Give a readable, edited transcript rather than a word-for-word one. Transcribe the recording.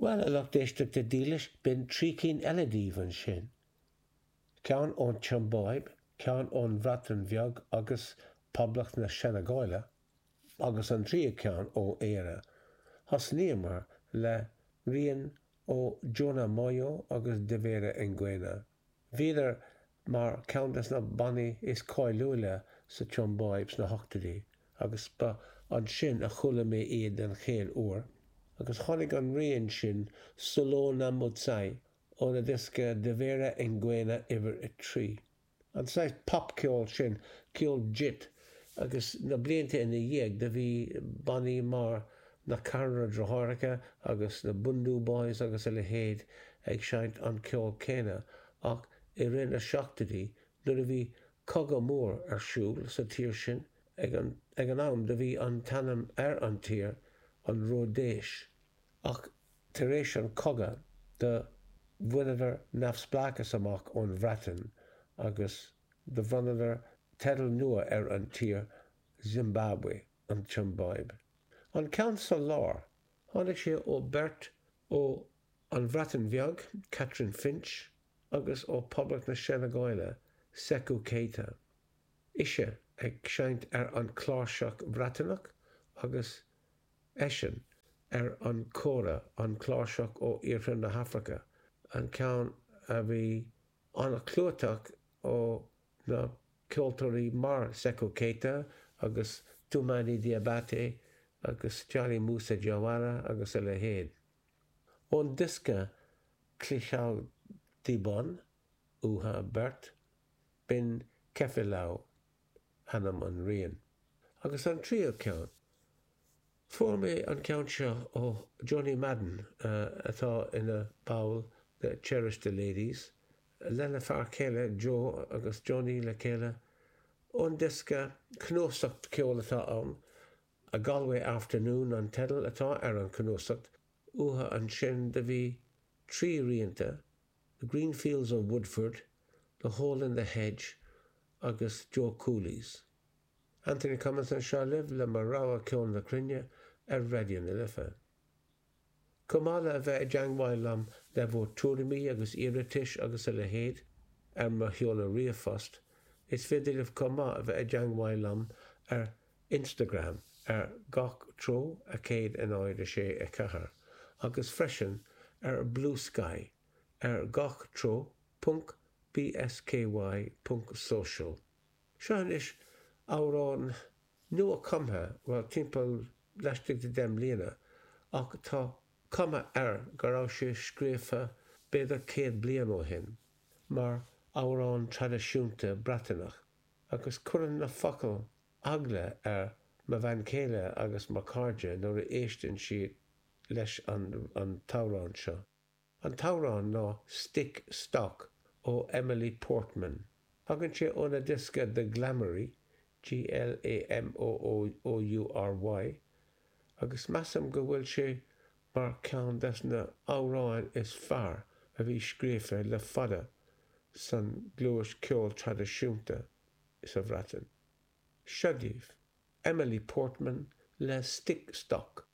Bhuel, a lucht éisteachta dílis, b'in 3 cinn eile daoibh ansin. Ceann ón tSiombáib, ceann ón Bhreatain Bheag agus Poblacht na Seineagáile, agus an tríú ceann ó Éire. Thosnaíomar le rian ó Jonah Moyo agus Devera Ngwena. Bhíodar mar ceann des na bannaí is cáiliúla sa tSiombáib sna hochtóidí agus ba ansin a chuala mé iad den chéad uair agus tháinig an rian sin Solona Mutsai óna diosca Devera Ngwena uimhir 3. An saghas popcheol sin, ceol jit, agus na blianta ina dhiaidh do bhí bannaí mar Na Ceathrar Deartháireacha agus na Bhundu Boys agus a leithéid ag seinnt an ceol céanna ach i rith na seachtóidí nuair a bhí cogadh mór ar siúl sa tír sin ag an ag an am do bhí an t-ainm ar an tír an Ródaise ach tar éis an cogadh do bhaineadar neamhspleáchas amach ón Bhreatain agus do bhronnadar teideal nua ar an tír Zimbabwe, an tSiombáib. An ceann sa lár, tháinig sé ó beirt ó An Bhreatain Bheag, Catrin Finch, agus ó Poblacht na Seineagáile, Seckou Keita. Ise ag seinnt ar an chláirseach Bhreataineach agus eisean ar an kora, an chláirseach ó Iarthar na hAfraice, an ceann a bhí an-chlúiteach ó na ceoltóirí mar Seckou Keita agus Toumani Diabaté agus Djali Moussa Diawara agus a leithéid. Ón diosca Clichal Dibon uatha beirt, b'in Kefilau ainm an riain. Agus an tríú ceann. Fuair mé an ceann seo ó Johnny Madden atá ina ball de Cherish the Ladies, lena fear céile Joe agus Johnny le chéile. Ón diosca, cnuasacht ceoil atá ann, A Galway Afternoon an teideal atá ar an chnuasacht, uathu ansin do bhí 3 rianta, The Green Fields of Woodford, The Hole in the Hedge agus Joe Cooley's. Anthony Cummins anseo libh le mo rogha ceol na cruinne ar Raidió na Life. Chomh maith le a bheith i dteangmháil liom le bhur tuairimí agus iarratais agus a leithéid ar mo sheoladh ríomhphost, is féidir libh chomh maith a bheith i dteangmháil liom ar Instagram ar gach treo 1 0 6 4 agus freisin ar Bluesky ar gach treo ponc bsky ponc social. Seo anois amhrán nua-chumtha, bhuel, timpeall laistigh de dheich mbliana, ach tá cuma air go raibh sé scríofa b'fhéidir 100 bliain ó shin, mar amhrán traidisiúnta Breataineach, agus cuireann na focail eagla ar mo bhean chéile agus mo chairde nuair a éisteann siad leis an t-amhrán seo. An t-amhrán ná Stick Stock ó Emily Portman. Tagann sé óna diosca The Glamoury, G-L-A-M-O-O-U-R-Y, agus measaim go bhfuil sé mar ceann des na amhráin is fearr a bhí scríofa le fada san gluais ceol traidisiúnta sa Bhreatain. Seo daoibh, Emily Portman le Stick Stock.